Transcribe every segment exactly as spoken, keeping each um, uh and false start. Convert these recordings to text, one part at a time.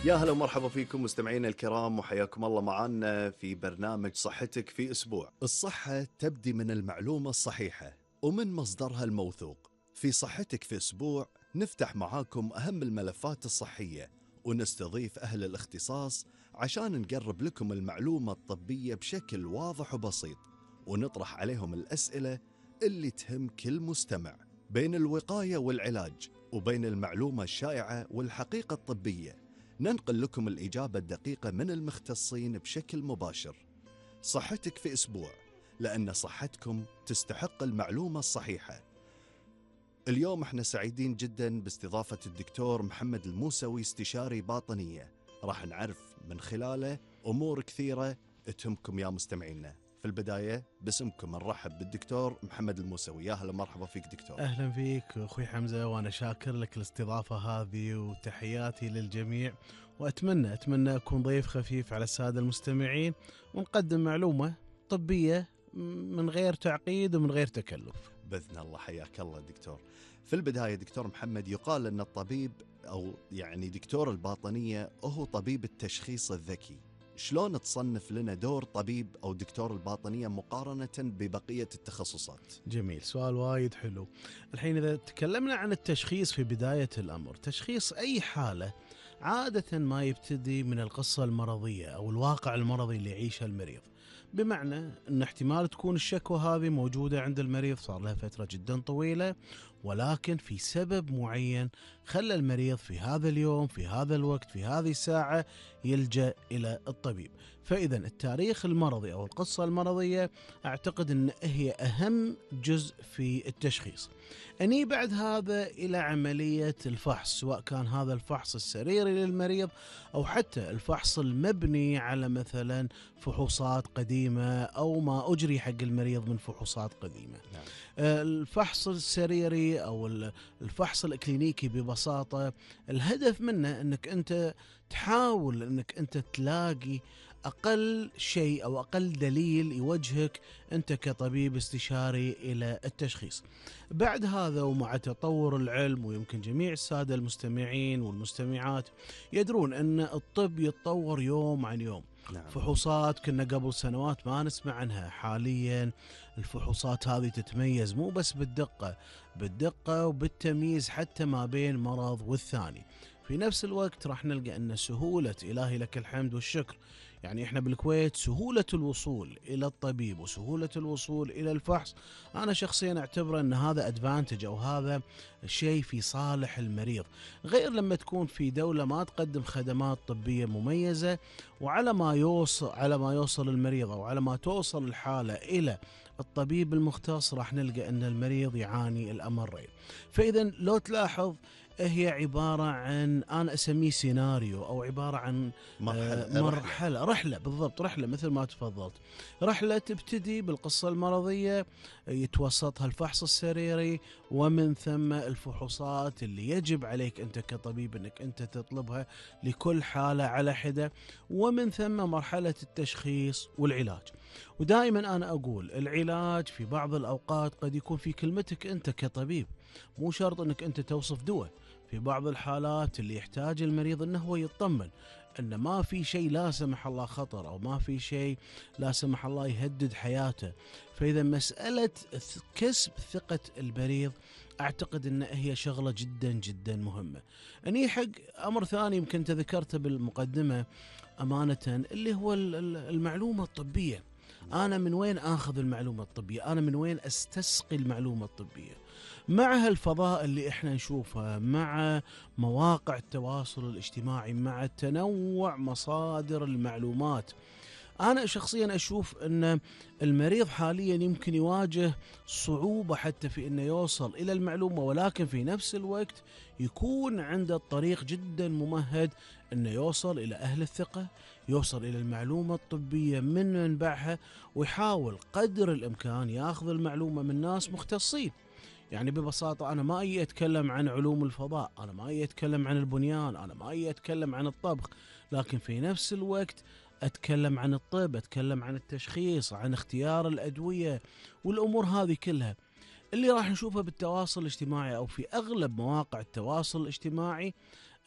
يا هلا ومرحبا فيكم مستمعينا الكرام، وحياكم الله معنا في برنامج صحتك في أسبوع. الصحة تبدي من المعلومة الصحيحة ومن مصدرها الموثوق. في صحتك في أسبوع نفتح معاكم أهم الملفات الصحية ونستضيف أهل الاختصاص عشان نقرب لكم المعلومة الطبية بشكل واضح وبسيط، ونطرح عليهم الأسئلة اللي تهم كل مستمع. بين الوقاية والعلاج وبين المعلومة الشائعة والحقيقة الطبية ننقل لكم الإجابة الدقيقة من المختصين بشكل مباشر. صحتك في أسبوع، لأن صحتكم تستحق المعلومة الصحيحة. اليوم احنا سعيدين جدا باستضافة الدكتور محمد الموسوي، استشاري باطنية. راح نعرف من خلاله أمور كثيرة تهمكم يا مستمعينا. في البداية باسمكم نرحب بالدكتور محمد الموسوي. يا هلا مرحبا فيك دكتور. أهلا فيك أخوي حمزة، وأنا شاكر لك الاستضافة هذه وتحياتي للجميع، وأتمنى أتمنى أكون ضيف خفيف على السادة المستمعين ونقدم معلومة طبية من غير تعقيد ومن غير تكلف بإذن الله. حياك الله دكتور. في البداية دكتور محمد، يقال أن الطبيب أو يعني دكتور الباطنية هو طبيب التشخيص الذكي. شلون تصنف لنا دور طبيب أو دكتور الباطنية مقارنة ببقية التخصصات؟ جميل، سؤال وايد حلو. الحين إذا تكلمنا عن التشخيص في بداية الأمر، تشخيص أي حالة عادة ما يبتدي من القصة المرضية أو الواقع المرضي اللي يعيشه المريض، بمعنى أن احتمال تكون الشكوى هذه موجودة عند المريض صار لها فترة جدا طويلة، ولكن في سبب معين خلى المريض في هذا اليوم في هذا الوقت في هذه الساعة يلجأ إلى الطبيب. فإذا التاريخ المرضي أو القصة المرضية أعتقد أن هي أهم جزء في التشخيص. أني بعد هذا إلى عملية الفحص، سواء كان هذا الفحص السريري للمريض أو حتى الفحص المبني على مثلا فحوصات قديمة أو ما أجري حق المريض من فحوصات قديمة. نعم. الفحص السريري أو الفحص الإكلينيكي ببساطة الهدف منه أنك أنت تحاول أنك أنت تلاقي أقل شيء أو أقل دليل يوجهك أنت كطبيب استشاري إلى التشخيص. بعد هذا ومع تطور العلم، ويمكن جميع السادة المستمعين والمستمعات يدرون أن الطب يتطور يوم عن يوم. نعم. فحوصات كنا قبل سنوات ما نسمع عنها، حاليا الفحوصات هذه تتميز مو بس بالدقة بالدقة وبالتمييز حتى ما بين مرض والثاني. في نفس الوقت راح نلقى أن سهولة، إلهي لك الحمد والشكر، يعني إحنا بالكويت سهولة الوصول إلى الطبيب وسهولة الوصول إلى الفحص أنا شخصيا أعتبر أن هذا أدفانتج أو هذا شيء في صالح المريض، غير لما تكون في دولة ما تقدم خدمات طبية مميزة، وعلى ما يوصل على ما يوصل المريض أو على ما توصل الحالة إلى الطبيب المختص راح نلقى أن المريض يعاني الأمرين. فإذا لو تلاحظ هي عبارة عن أنا أسميه سيناريو أو عبارة عن مرحلة, مرحلة رحلة بالضبط، رحلة مثل ما تفضلت. رحلة تبتدي بالقصة المرضية، يتوسطها الفحص السريري، ومن ثم الفحوصات اللي يجب عليك أنت كطبيب أنك أنت تطلبها لكل حالة على حدة، ومن ثم مرحلة التشخيص والعلاج. ودائما أنا أقول العلاج في بعض الأوقات قد يكون في كلمتك أنت كطبيب، مو شرط أنك أنت توصف دواء. في بعض الحالات اللي يحتاج المريض أنه هو يطمن أن ما في شيء لا سمح الله خطر أو ما في شيء لا سمح الله يهدد حياته. فإذا مسألة كسب ثقة المريض أعتقد أن هي شغلة جدا جدا مهمة. أني حق أمر ثاني يمكن تذكرته بالمقدمة أمانة، اللي هو المعلومة الطبية. أنا من وين آخذ المعلومة الطبية؟ أنا من وين أستسقي المعلومة الطبية؟ مع هالفضاء اللي إحنا نشوفها، مع مواقع التواصل الاجتماعي، مع تنوع مصادر المعلومات، أنا شخصيا أشوف أن المريض حاليا يمكن يواجه صعوبة حتى في أنه يوصل إلى المعلومة، ولكن في نفس الوقت يكون عنده الطريق جدا ممهد أنه يوصل إلى أهل الثقة، يوصل إلى المعلومة الطبية من منبعها، ويحاول قدر الإمكان يأخذ المعلومة من ناس مختصين. يعني ببساطة أنا ما أي أتكلم عن علوم الفضاء، أنا ما أي أتكلم عن البنيان، أنا ما أي أتكلم عن الطبخ، لكن في نفس الوقت أتكلم عن الطب، أتكلم عن التشخيص، عن اختيار الأدوية والأمور هذه كلها اللي راح نشوفها بالتواصل الاجتماعي أو في أغلب مواقع التواصل الاجتماعي.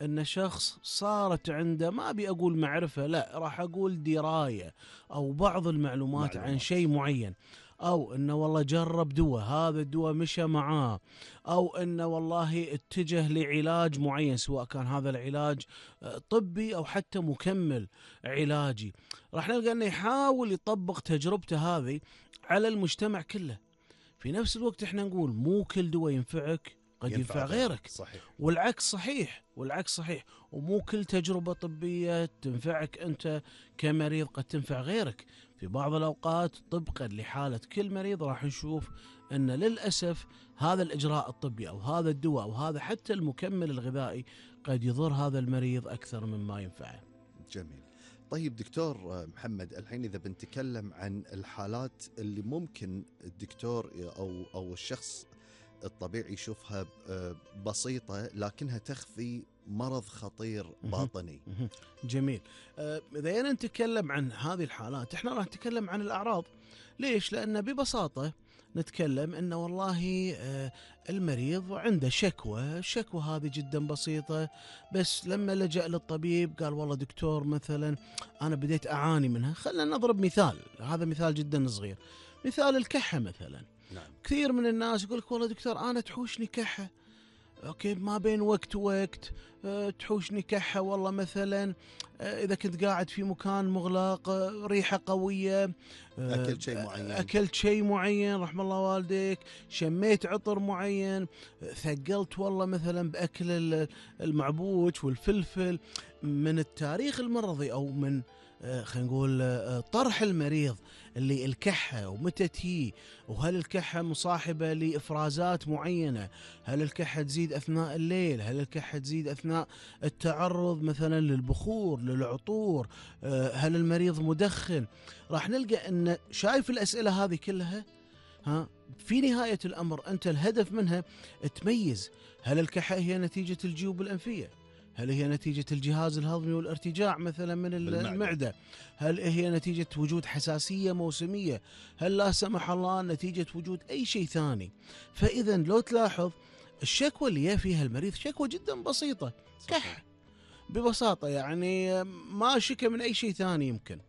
أن شخص صارت عنده، ما أبي أقول معرفة، لا راح أقول دراية أو بعض المعلومات عن معلومات. شيء معين، أو أنه والله جرب دواء، هذا الدواء مشى معاه، أو أنه والله اتجه لعلاج معين، سواء كان هذا العلاج آه، طبي أو حتى مكمل علاجي. راح نلقى أنه يحاول يطبق تجربته هذه على المجتمع كله. في نفس الوقت احنا نقول مو كل دواء ينفعك قد ينفع, ينفع غيرك. صحيح. والعكس صحيح، والعكس صحيح. ومو كل تجربة طبية تنفعك أنت كمريض قد تنفع غيرك. في بعض الأوقات طبقا لحالة كل مريض راح نشوف أن للأسف هذا الإجراء الطبي أو هذا الدواء أو هذا حتى المكمل الغذائي قد يضر هذا المريض أكثر مما ينفعه. جميل. طيب دكتور محمد، الحين إذا بنتكلم عن الحالات اللي ممكن الدكتور أو أو الشخص الطبيعي يشوفها بسيطة لكنها تخفي مرض خطير باطني. جميل. إذا نتكلم عن هذه الحالات احنا راح نتكلم عن الأعراض. ليش؟ لأن ببساطة نتكلم أنه والله المريض عنده شكوى، الشكوى هذه جدا بسيطة، بس لما لجأ للطبيب قال والله دكتور مثلا أنا بديت أعاني منها. خلنا نضرب مثال، هذا مثال جدا صغير، مثال الكحة مثلا. نعم. كثير من الناس يقول لك والله دكتور أنا تحوشني كحة، أوكي، ما بين وقت ووقت أه تحوشني كحة، والله مثلا أه إذا كنت قاعد في مكان مغلق، أه ريحة قوية، أه أكلت شيء معين أكلت شيء معين رحم الله والديك، شميت عطر معين، أه ثقلت والله مثلا بأكل المعبوش والفلفل. من التاريخ المرضي أو من أه خلينا نقول أه طرح المريض اللي الكحة ومتى تهي، وهل الكحة مصاحبة لإفرازات معينة، هل الكحة تزيد أثناء الليل، هل الكحة تزيد أثناء التعرض مثلا للبخور للعطور، هل المريض مدخن. راح نلقى أن شايف الأسئلة هذه كلها، ها في نهاية الأمر أنت الهدف منها تميز هل الكحة هي نتيجة الجيوب الأنفية، هل هي نتيجة الجهاز الهضمي والارتجاع مثلا من بالمعدة. المعدة، هل هي نتيجة وجود حساسية موسمية، هل لا سمح الله نتيجة وجود أي شيء ثاني. فإذا لو تلاحظ الشكوى اللي فيها المريض شكوى جدا بسيطة، كح ببساطة، يعني ما شكى من أي شيء ثاني يمكن.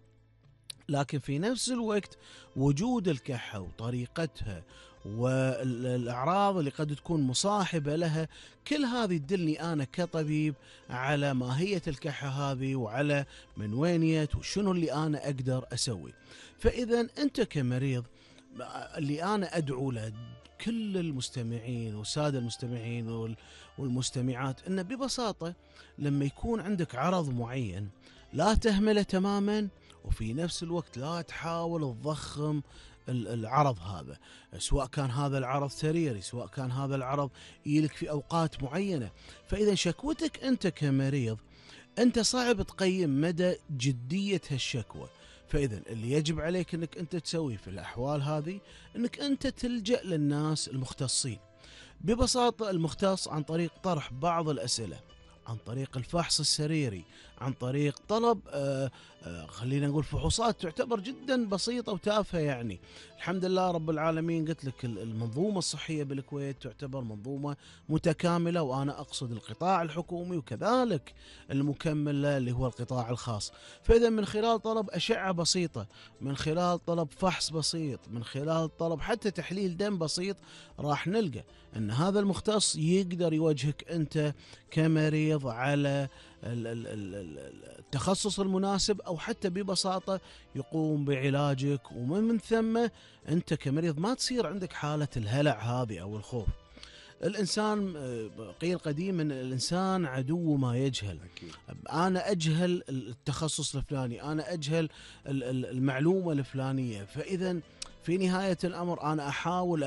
لكن في نفس الوقت وجود الكحة وطريقتها والأعراض اللي قد تكون مصاحبة لها، كل هذه تدلني أنا كطبيب على ماهية الكحة هذه وعلى من وين جت وشنو اللي أنا أقدر أسوي. فإذا أنت كمريض، اللي أنا أدعو له كل المستمعين والسادة المستمعين والمستمعات، أن ببساطة لما يكون عندك عرض معين لا تهمله تماما، وفي نفس الوقت لا تحاول تضخم العرض هذا، سواء كان هذا العرض سريري، سواء كان هذا العرض يلك في أوقات معينة. فإذا شكوتك أنت كمريض أنت صعب تقيم مدى جدية هالشكوى، فإذا اللي يجب عليك أنك أنت تسوي في الأحوال هذه أنك أنت تلجأ للناس المختصين. ببساطة المختص عن طريق طرح بعض الأسئلة، عن طريق الفحص السريري، عن طريق طلب آآ آآ خلينا نقول فحوصات تعتبر جدا بسيطة وتافهة. يعني الحمد لله رب العالمين، قلت لك المنظومة الصحية بالكويت تعتبر منظومة متكاملة، وأنا أقصد القطاع الحكومي وكذلك المكمل اللي هو القطاع الخاص. فإذا من خلال طلب أشعة بسيطة، من خلال طلب فحص بسيط، من خلال طلب حتى تحليل دم بسيط، راح نلقى أن هذا المختص يقدر يوجهك أنت كمريض على التخصص المناسب، أو حتى ببساطة يقوم بعلاجك. ومن ثم أنت كمريض ما تصير عندك حالة الهلع هذه أو الخوف. الإنسان قيل قديما الإنسان عدو ما يجهل. أكيد. أنا أجهل التخصص الفلاني، أنا أجهل المعلومة الفلانية، فإذا في نهاية الأمر أنا أحاول